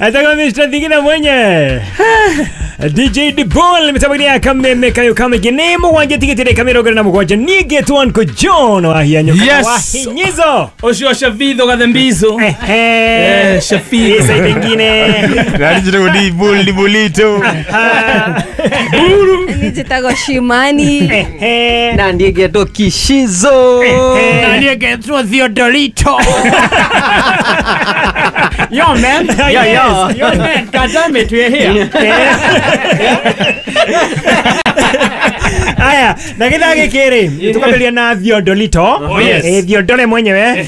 Etagwo Mr. Thigina mwenye DJ Dibol mĩtambo-inĩ ya kameme kayo kamĩingĩ nĩ mũgwanja tigĩte ndagĩka 27 niĩ ngetwo Uncle John wahianyo kana Yes. wahinyizo Ũcio Shavitho Gathembizo. Ehe. Eh, Shafitho. Isa ingine Nani njĩtagwo Dibul Dibulito. Njĩtagwo Shimani. Ehe. Na ndiä ngetwo Kishizo. Na niĩ ngetwo Theodorito. Yo man. Yo, yo. Yo man, God damn it, we're here. Aya, na gĩthaa gĩkĩ rĩ tũkambĩrĩria na Theodolito. Oh, yes. Eh, Theodore mwenyewe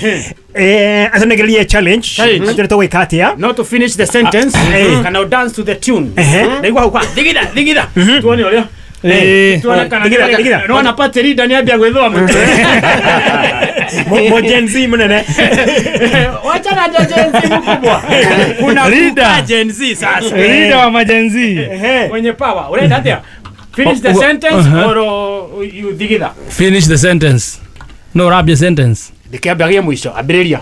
atũnengererie challenge. Challenge. Atwĩre tũgwĩka atĩa. Not to finish the sentence, Eh. kana dance to the tune. Ehe. Ndaigua hau kwa thigitha thigitha. Tuone ũrĩa. Eh. Tuone kana Thigitha, thigitha. Nona party leader nĩambia gwĩthũa mũtwe. Mo Gen Z mũnene. Wacha na Gen Z mkubwa. Kuna Leader. kuka Gen Z sasa. Leader wa majenzi. Ehe. Mwenye power. Unaenda atia? Finish the Oh, oh, sentence uh-huh. or you thigitha. Finish the sentence. No rabia sentence. Ndĩkĩambagie mũico ambĩrĩria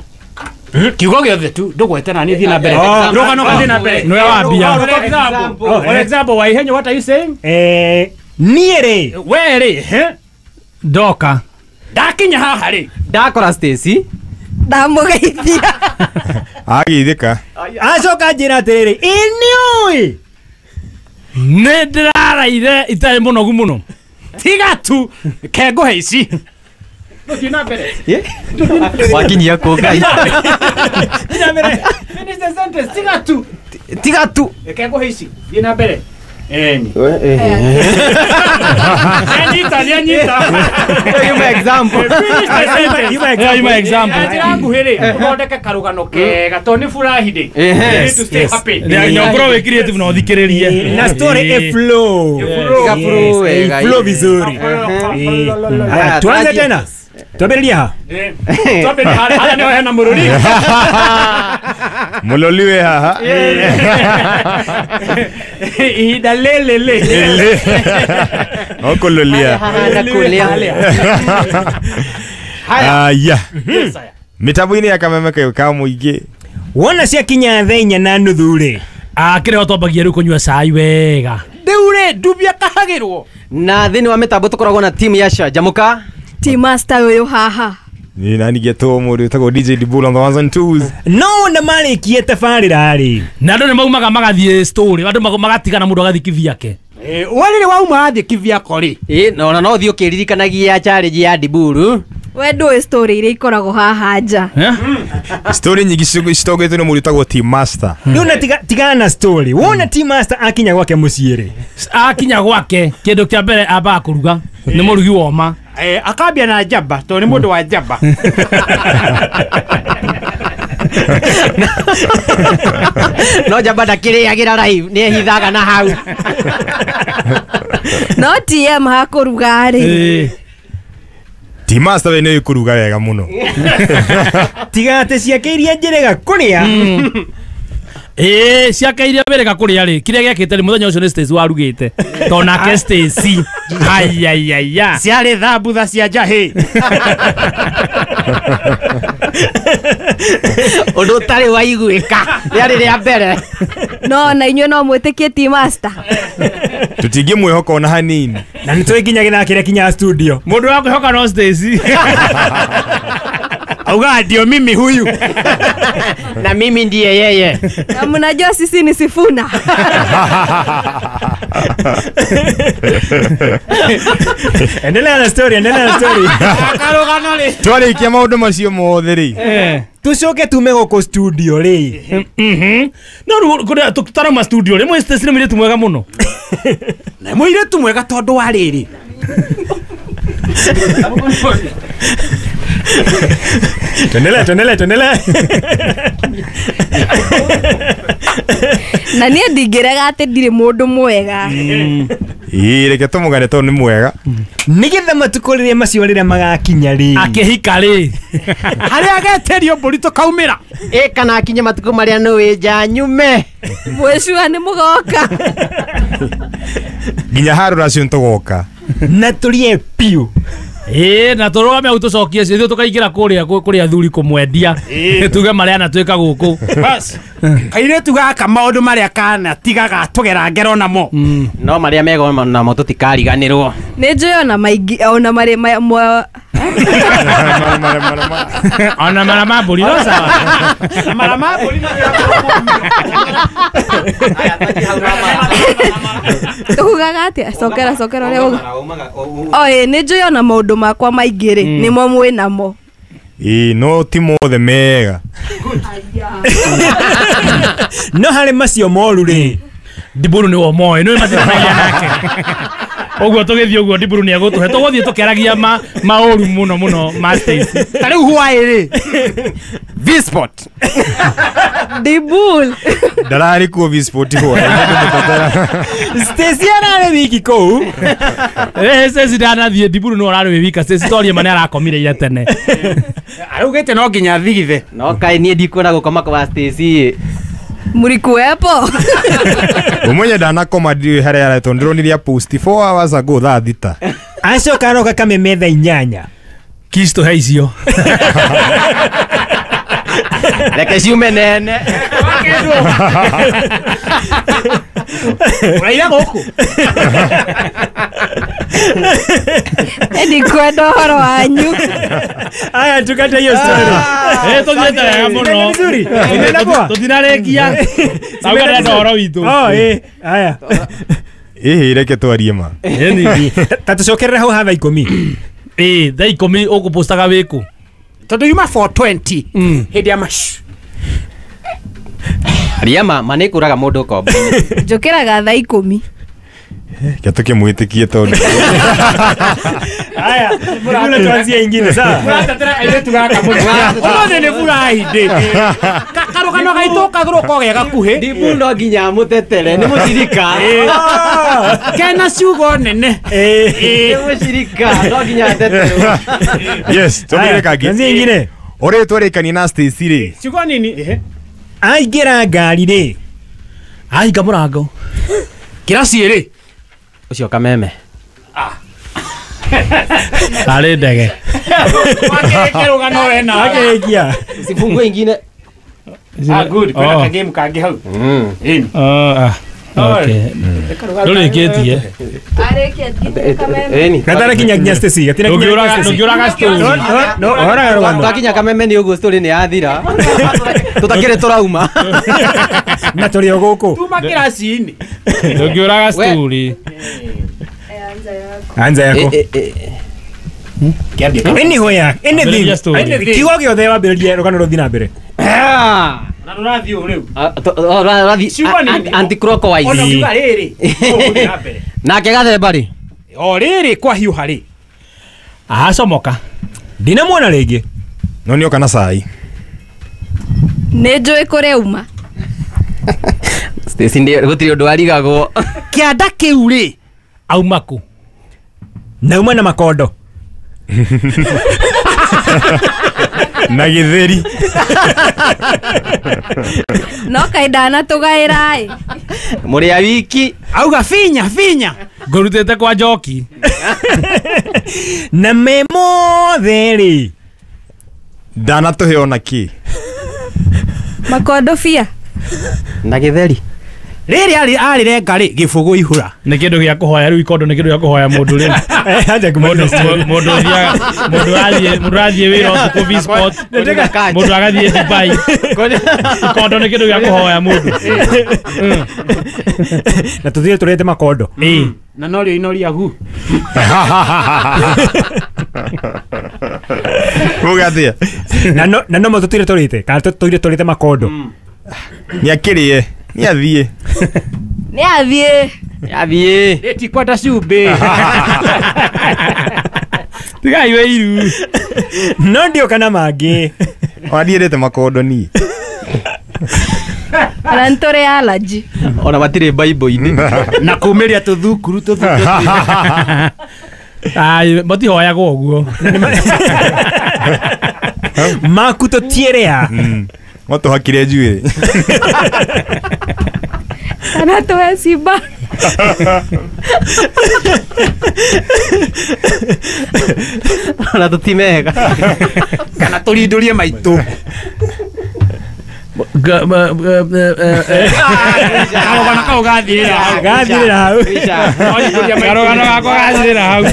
kiugo gĩothe tu ndũgwete na niĩ thiĩ na mbere Oh. rũgano thiĩ na mbere Nĩwe wambia. For example, for example, Waihenyo, what are you saying? Eh, niĩ rĩ We rĩ, he? Ndoka. Ndakinya haha rĩ. Ndakora Stacy. Ndamũgeithia. Agĩithĩka. acoka njĩra atĩrĩrĩ ĩ nĩũĩ Nĩ ndĩraraire itarĩ mũnogu mũno. Tiga tu kengũhe ici. Tũthiĩ na mbere. Wakinyia kũ Ngai. Thiĩ na mbere. Finish the sentence, tiga tu. Tiga tu. Kengũhe ici. Thiĩ na mbere. Eni. Nĩanyita, nĩanyita. Yuma example. Finish the sentence. Yuma Yeah, yuma Na example. njĩra nguhĩ rĩ, ũthondeke karũgano kega tondũ nĩ furahi day. Ehe. You need to stay happy. Nyongoro wĩ creative na ũthikĩrĩrie. na story Eh. iflow. Iga flow wega. Yes, iflow vizuri. Ehe. Eh. Haya, tuanze Haya, tena twambĩrĩrie ha Twambĩrĩrie harĩa harĩa nĩho hena mũrũri. Mũloliwe haha. Ihinda lĩlĩ. Ile. Okũlũlia. Haha na kũrĩa. Aya. Yes, aya. Mĩtambo-inĩ ya kameme kayo ka mũingĩ. wona ciakinya thaa inya na nuthu rĩ Akĩrĩ ho twambagia rĩu kũnyua cai wega. Rĩu rĩ ndubia kahagĩrwo. Na thĩinĩ wa mĩtambo tũkoragwo na timu ya Canjamũka. Ti master ũyũ haha. Niĩ nani ngetwo mũndũ wĩtagwo DJ Dibul on the ones and twos. no wona marĩkie tabarĩra rĩ Na andũ nĩ maumaga magathiĩ story, andũ magatigana mũndũ agathiĩ kivyake. We rĩrĩ wauma wathiĩ kivyako rĩ. Ĩ na ona no ũthiĩ ũkĩririkanagia challenge ya Diburu. We ndũĩ story iria ikoragwo haha nja. Eh? Story nyingĩ citongoretio nĩ mũndũ wĩtagwo Team Master. rĩu na tigana na story wona team master akinya gwake mũciĩ rĩ Akinya gwake kĩndũ kĩa mbere ambaga kũruga nĩ mũrugi woma. Eh, akambia na njamba tondũ nĩ mũndũ wa njamba. No njamba ndakĩrĩagĩra live nĩ ehithaga na hau. No TM hakũruga rĩ. Eh. Team Master we nĩ kũruga wega mũno. tiga atĩ ciake iria njĩrĩga kũrĩa Ĩĩ ciake iria wĩrĩga kũrĩa rĩ kĩrĩa gĩakĩte rĩ mũthenya ũcio nĩ Stacy warugĩte tondũ nake Stacy ayayaya Ciarĩ thambutha cia njahĩ. Ũndũ ũtarĩ waiguĩka. Rĩarĩ rĩa mbere. No na inyuĩ no mwĩtĩkie ti master. Tũtingĩmwĩhoka ona hanini. na nĩ tũĩ nginya gĩthaa kĩrĩa kinyaga studio mũndũ wa kwĩhoka no Stacy. Auga ndio mimi huyu. Na mimi ndiye yeye. Na mnajua sisi ni Sifuna. endelea na story endelea na story Karũgano rĩ. Twarĩkia maũndũ macio mothe rĩ. Eh. tucoke tume gũkũ studio rĩ Mhm. No rĩu kũrĩa tũtarauma studio rĩ mwe Stacy nĩ mũirĩtu mwega mũno. Na mũirĩtu mwega tondũ wa rĩrĩ. tuendelee tuendelee tuendelee Na niĩ ndingĩrega atĩ ndirĩ mũndũ mwega. Ĩĩ reke tũmũgane tondũ nĩ mwega. nĩgetha matukũ rĩrĩa macio rĩrĩa magakinya rĩ Akĩhika rĩ. Harĩa ageterio mbũri tũkaumĩra. Ĩ kana akinye matukũ marĩa nĩ wĩnja nyume. Mwĩcua nĩ mũgoka. Nginya harũ racio nĩtũgoka. na tũrĩe piũ Ĩĩ na tũrũgame hau tũcokie ithuĩ tũkaingĩra kũrĩa kũrĩ athuri kũmwendia tuge marĩa anatwĩka gũkũ. Bas. Kairĩtu gaka maũndũ marĩa kana tigaga tũgera ngero namo. No marĩa mega namo tũtikariganĩrwo. Nĩ njũĩ ona maingĩ ona marĩ ona mara ma mbũri no sawa. Mara ma mbũri tugaga atĩa cokera cokera ũrĩa uga. Oĩ nĩ njũĩ ona maũndũ makwa maingĩ rĩ nĩmo mwĩ namo. Ĩĩ no ti mothe mega. No harĩ macio moru rĩ Ndiburu nĩ womoĩ nĩ matiranagia nake. Ũguo tũgĩthiĩ ũguo Ndiburu nĩ egũtũhe tũgũthiĩ tũkĩaragia maũru mũno mũno ma Stacy. Ta rĩu hwaĩ rĩ V-Sport. Ndibul. Ndararĩ kuo V-Sport hwaĩ. Stacy ararĩ wiki kũu. Stacy ndanathiĩ Ndiburu nĩwe ũrarĩ wĩ wika. Stacy torie ma nĩ arakomire ira tene. Araugĩte no nginya thigithe. No kaĩ niĩ ndikuona gũkoma kwa Stacy. Mlikuwepo? Umenye ndanakoma ndiũĩ harĩa aretwo ndĩronire post 4 hours ago thaa 6. Acoka aroka kameme thaa 8. Kisto he icio. Reke ciume nene. Ũraira gũkũ. Ndikwenda ũhoro wanyu. Aya tukate hiyo story. Tũthiĩte wega mũno. Vizuri. Inaenda poa. Tũtinarĩkia. Tauga ndĩrenda ũhoro witũ. Oh aya. Ĩhĩ reke twarie ma. Ta tũcokerere hau ha thaa 10. Ĩĩ thaa 10 ũkũpostaga wĩkũ? Tondũ yuma 420 hĩndĩ ya mash. Ria ma nĩ kũraga mũndũ kombo. Njũkĩraga thaa 10. Kia tũkĩmwĩtĩkie tondũ. Aya, mbona tuanzie ingine sawa? Mũratetera airĩtu gaka mũno. Ũmũthĩ nĩ Friday. Karũgano gaitũ kagũrũ ko ge gakuhĩ. Ndibu no nginya mũtetere nĩ mũcirika. Kena ciugo nene. Nĩ mũcirika no nginya ateterwo. Yes, tũmĩre kangĩ. Tuanzie ingine. Ũrĩa twarĩkania na Stacy rĩ. Ciugo nini? Aingĩra ngari rĩ. Ahinga mũrango. Kĩraci rĩ. Ũcio kameme. Arĩ ndege. Wakĩrĩkia rũgano we nawe. Akĩrĩkia. Sifungue ingine. Good. Kwĩna kagame kangĩ hau. Okay. Ndũrĩkĩtie. Arĩkia nginya kameme. Gatara kinya nginya Stacy. Gatina kinya Stacy. Ndũngĩũraga story. No, ũraga rũgano. Twakinya kameme nĩ ũguo story nĩ yathira. Tũtakĩrĩ tũrauma. Na tũrĩ o gũkũ. Tuma kĩraci-inĩ. Ndũngĩũraga story. Anza yako. Anywhere, anything. Kiugo gĩothe wambĩrĩrie rũgano rũthiĩ na mbere. Na rũrathiĩ ũũ rĩu. Ũrathiĩ anti-clockwise. Ona kiuga rĩrĩ. Ũgũthiĩ na mbere. Nake gathemba rĩ. O rĩrĩ kwahiũha rĩ. Acomoka. Ndinamuona rĩngĩ. No nĩoka na cai. Nĩ njũĩ kũrĩa uma. Stacy gũtirĩ ũndũ arigagwo. Kĩanda kĩu rĩ. Auma kũ? Nauma na makondo. Na gĩtheri. No kaĩ ndanatũgaĩra ĩ. Mũrĩ a wiki. Auga finya finya. Ngũrutĩte kwa njoki. Na me mothe rĩ. Ndanatũhe ona kĩ. Makondo bia. Na gĩtheri. Rĩrĩ arĩrenga rĩ gĩbũgũ ihũra. Nĩ kĩndũ gĩa kũhoya rĩu ikondo nĩ kĩndũ gĩa kũhoya mũndũ rĩ. Mũndũ athiĩ wĩra ũtukũ V-Sport. Mũndũ agathiĩ Dubai. Ikondo nĩ kĩndũ gĩa kũhoya mũndũ. Na tũthiĩ tũrĩte makondo. Na norio inoria gu. Uga atĩa? Na no tũtire tũrĩte kana tũtire tũrĩte makondo. Nĩ akĩrĩe. Nĩ athiĩ. Nĩ athiĩ. Nĩ athiĩ. Ĩ ti kwenda cumbĩ. Tigai wĩiru. No ndioka na mangĩ. Ona ndiendete makondo niĩ. Ona nĩ tũrĩ allergy. Ona matirĩ Bible-inĩ. Na kumĩria tũthukuru tũthukuru. Ai matihoyagwo ũguo. Maku tũtiĩrĩa. No tũhakire njuĩrĩ. Kana tũhe cimba. Na tũtimega. Kana tũrindũrie maitũ. Karũgano kau gathirĩra hau. Gathirĩra hau. Karũgano gakwa gathirĩra hau.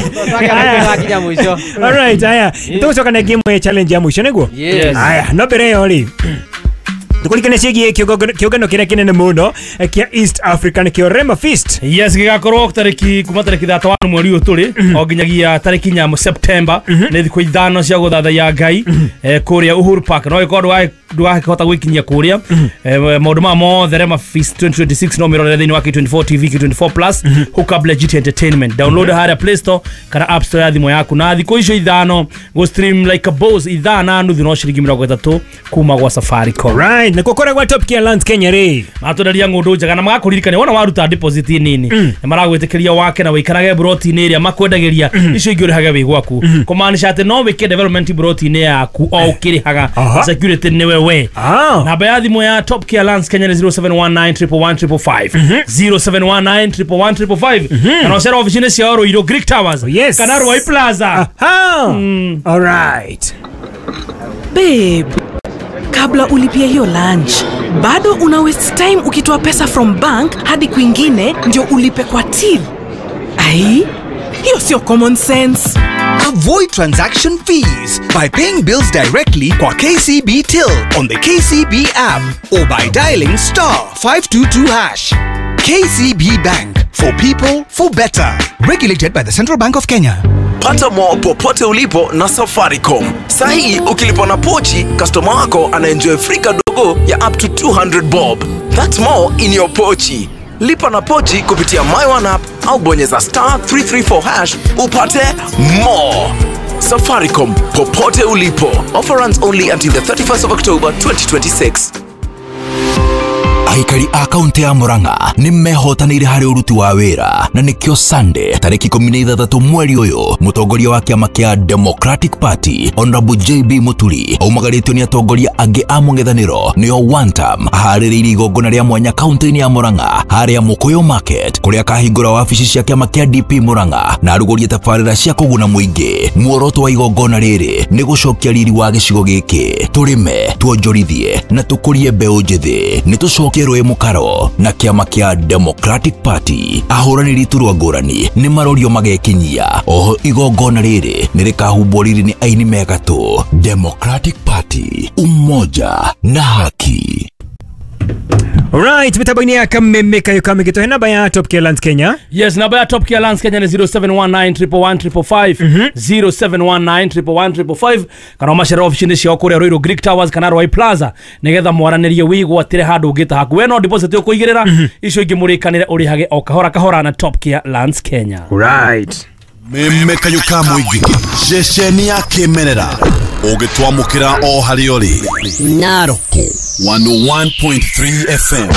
Twakinya mũico. All right, aya. Tũgũcoka na game ya challenge ya mũico nĩguo? Yes. Aya, no mbere ĩyo rĩ. Tukulikane ciĩgiĩ kĩũngano kĩrĩa kĩnene mũno kĩa East Africa nĩkĩo Rema Feast. Yes, gĩgakorwo tarĩki kuma tarĩki 31 mweri ũyũ tũrĩ o nginyagia tarĩki 4 September nĩ thikũ 5 cia gũthathaiya Ngai kũrĩa Uhuru Park. No ĩkorwo ndũgakĩhota gwĩkinyia kũrĩa maũndũ maya mothe Rema Feast 2026 no mĩrorere thĩinĩ wa K24 TV, K24 Plus, hook up legit entertainment. Download harĩa Play Store kana App Store ya thimũ yaku na thikũ icio 5 go stream like a boss 5.5 no ciringi 30 kuma gwa Safaricom. Right, na kũkoragwo gwa Top Care Lands Kenya rĩ. Matwenderia ng'ũndũ njega na magakũririkania wona waruta deposit nini nĩ maragwĩtĩkĩria wake na wĩikarage broti-inĩ ĩrĩa makwendagĩria icio ingĩ ũrĩhage wĩ gwaku kũmaanisha atĩ no wĩke development broti-inĩ yaku o ũkĩrĩhaga security nĩwe we. Namba ya thimũ ya Top Care Lands Kenya nĩ 0719 111 555 0719 111 555 kana ũcere ofici-inĩ ciao Ruiru Greek Towers kana Ruai Plaza. All right. Babe, kabla ulipie hiyo lunch, bado una waste time ukitoa pesa from bank hadi kwingine ndio ulipe kwa till. Ai, hiyo sio common sense. Avoid transaction fees by paying bills directly kwa KCB Till on the KCB app or by dialing *522#. KCB Bank, for people, for better. Regulated by the Central Bank of Kenya. Pata more popote ulipo na Safaricom. Sahi ukilipa na pochi, customer wako anaenjoy free kadogo ya up to 200 bob. That's more in your pochi. Lipa na pochi kupitia My One app au bonyeza *334# upate more. Safaricom, popote ulipo. Offer runs only until the 31st of October 2026. Aikari a kaunti ya Murang'a nĩ mehotanĩire harĩ ũruti wa wĩra na nĩkĩo Sunday tarĩki 16 mweri ũyũ mũtongoria wa kĩama kĩa Democratic Party Honorable JB Muturi aumagarĩtio nĩ atongoria angĩ a mũng'ethanĩro nĩo one term aharĩrĩirie igongona rĩa mwanya kaunti-inĩ ya Murang'a harĩa Mũkũyũ Market kũrĩa akahingũra wabici cia kĩama kĩa DP Murang'a na arugũrie tabarĩra cia kũguna mũingĩ. Muoroto wa igongona rĩrĩ nĩ gũcokia riri wa gĩcigo gĩkĩ, tũrĩme, tuonjorithie na tũkũrie mbeũ njĩthĩ. Nĩ tũcokie rũĩ mũkaro na kĩama kĩa Democratic Party. Ahũranĩri iturwa ngũrani nĩ marorio magekinyia. Oho igongona rĩrĩ nĩ rĩkahumbwo riri nĩ aini megatũ. Democratic Party, umoja na haki. Alright, mitambo-inĩ ya Kameme Kayo Kamĩgĩtũhe namba ya Top Care Lands Kenya. Yes, namba ya Top Care Lands Kenya ni 0719 111 555 0719 111 555 kana ũmacere ofici-inĩ ciao kũrĩa Ruiru Greek Towers kana Ruai Plaza nĩgetha mwaranĩrie wĩgwatĩre handũ ũngĩta haku. We no deposit ũkũigĩrĩra icio ingĩ mũrĩkanĩre ũrĩhage o kahora kahora na Top Care Lands Kenya. Right. Meme Kayo ka mũingĩ ceceni ya kĩmerera ũgĩtwamũkĩra o harĩa ũrĩ Narok 101.3 FM.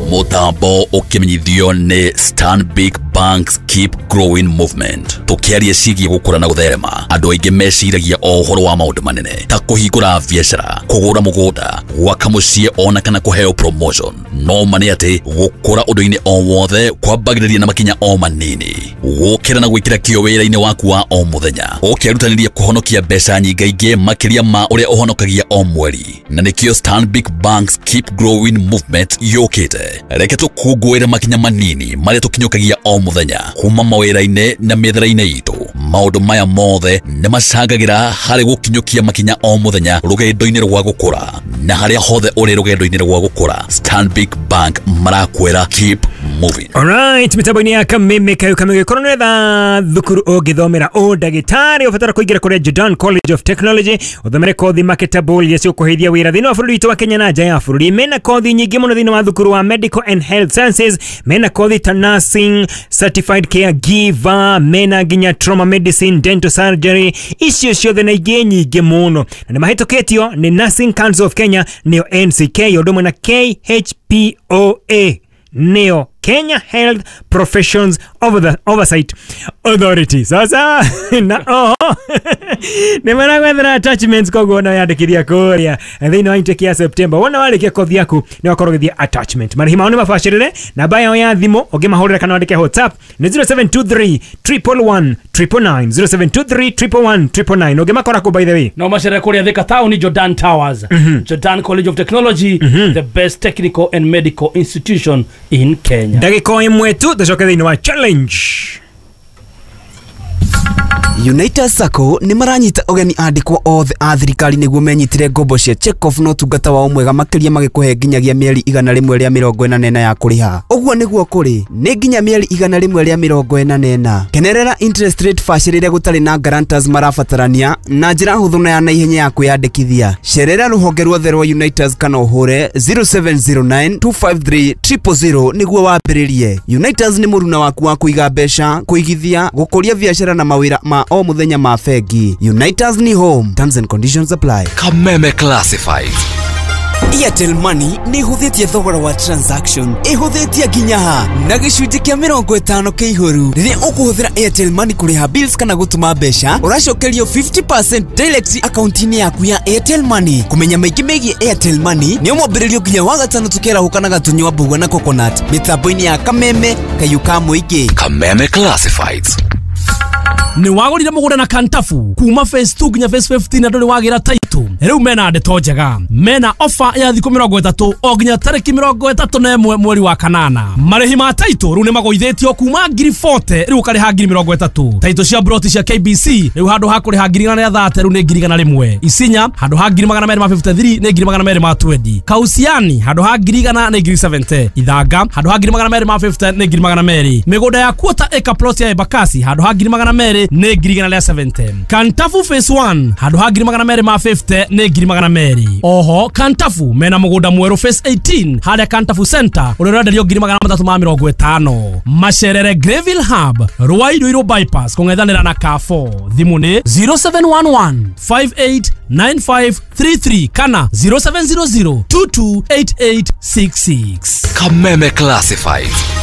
Mũtambo ũkĩmenyithio nĩ Stanbic Bank's Keep Growing Movement. Tũkĩaria ciĩgiĩ gũkũra na gũtherema, andũ aingĩ meciragia o ũhoro wa maũndũ manene ta kũhingũra biacara, kũgũra mũgũnda, gwaka mũciĩ ona kana kũheo promotion. No ma nĩ atĩ gũkũra ũndũ-inĩ o wothe kwambagĩrĩria na makinya o manini. Gũkĩra na gwĩkĩra kĩyo wĩra-inĩ waku wa o mũthenya, ũkĩrutanĩria kũhonokia mbeca nyingaingĩ makĩria ma ũrĩa ũhonokagia o mweri. Na nĩkĩo Stanbic Bank's Keep Growing Movement yũkĩte. Reke tũkũngũĩre makinya manini marĩa tũkinyũkagia o mũthenya kuma mawĩra-inĩ na mĩethere-inĩ itũ. Maũndũ maya mothe nĩ macangagĩra harĩ gũkinyũkia makinya o mũthenya rũgendo-inĩ rwa gũkũra. Na harĩa hothe ũrĩ rũgendo-inĩ rwa gũkũra, Stanbic Bank marakwĩra keep moving. Alright, mitambo-inĩ ya Kameme Kayo Kamĩgĩ korwo nĩ wetha thukuru ũngĩthomera ũndagĩtarĩ ũbatara kũingĩra kũrĩa Jordan College of Technology ũthomere kothi marketable iria cigũkũheithia wĩra thĩinĩ wa bũrũri witũ wa Kenya na nja ya bũrũri. Mena kothi nyingĩ mũno thĩinĩ wa thukuru wa Medical and Health Sciences, mena kothi ta nursing, certified caregiver, mena nginya trauma medicine, dental surgery, icio ciothe na ingĩ nyingĩ mũno. Na nĩ mahĩtũkĩtio nĩ Nursing Council of Kenya nĩyo NCK ũndũ ũmwe na KHPOA nĩyo Kenya Health Professions Oversight Authority. Sasa na oho nĩ maragwethera attachments, koguo no yandĩkithia kũrĩa thĩinĩ wa intake ya September. Wona warĩkia kothi yaku nĩ wakorwo ũgĩthiĩ attachment. Marĩhi mao nĩ mabacĩrĩre. Namba yao ya thimũ ũngĩmahũrĩra kana wandĩke WhatsApp nĩ 0723 111 999, 0723 111 999. Ũngĩmakora kũ, by the way? No macere kũrĩa Thika Town, Jordan Towers. Jordan College of Technology, the best technical and medical institution in Kenya. Ndagĩka o ĩmwe tu tũcoke thĩinĩ wa challenge. United Sacco nĩ maranyita ũgeni andĩkwo othe a thirikari nĩguo menyitĩre ngombo cia check-off na ũtungata wao mwega makĩria, magĩkũhe nginyagia mĩeri 144 ya kũrĩha. Ũguo nĩguo kũrĩ nĩ nginya mĩeri 144. Kenerera interest rate bacĩrĩre gũtarĩ na guarantors marabatarania na njĩra hũthũ na ya naihenya ya kwĩyandĩkithia. Cerera rũhonge ruothe rwa Unitas kana ũhũre 0709 253 000 nĩguo wambĩrĩrie. Unitas nĩ mũruna waku wa kũiga mbeca, kũigithia, gũkũria biacara na mawĩra ma o mũthenya ma bengi. Unitas ni home. Terms and conditions apply. Kameme Classifieds. Airtel Money nĩ ĩhũthĩtie thogora wa transaction, ĩhũthĩtie nginya ha na gĩcunjĩ kĩa 50 kĩihũru. Rĩrĩa ũkũhũthĩra Airtel Money kũrĩha bills kana gũtũma mbeca, ũracokerio 50% direct akaunti-inĩ yaku ya Airtel Money. Kũmenya maingĩ megiĩ Airtel Money nĩ mwambĩrĩrio nginya wa gatano tũkĩarahũka na gatunyua mbũgua na coconut mĩtambo-inĩ ya Kameme kayũ ka mũingĩ. Kameme Classifieds. Nĩ wagũrire mũgũnda na Kantafu kuma phase 2 nginya phase 15 na ndũrĩ wagĩra title. Rĩu mena ndeto njega, mena ofa ya thikũ 30 o nginya tarĩki 31 mweri wa kanana. Marĩhi ma title rĩu nĩ magũithĩtio kuma ngiri 40 rĩu ũkarĩha ngiri 30. Title cia broti cia KBC rĩu handũ ha kũrĩha ngiri 130 rĩu nĩ ngiri 101. Isinya handũ ha ngiri 253 nĩ ngiri 220. Kausiani handũ ha ngiri 100 nĩ ngiri 70. Ithanga handũ ha ngiri 250 nĩ ngiri 200. Mĩgũnda ya quarter acre plot ya Embakasi handũ ha ngiri 200 nĩ ngiri 170. Kantafu phase 1 handũ ha ngiri 250 nĩ ngiri 200. Oho Kantafu mena mũgũnda mwerũ phase 18 harĩa Kantafu Center ũrĩa ũrenderio ngiri 350. Macerere Greville Hub, Ruai Ruiru bypass kũng'ethanĩra na Carrefour. Thimũ nĩ 0711 589533 kana 0700 228866. Kameme Classifieds.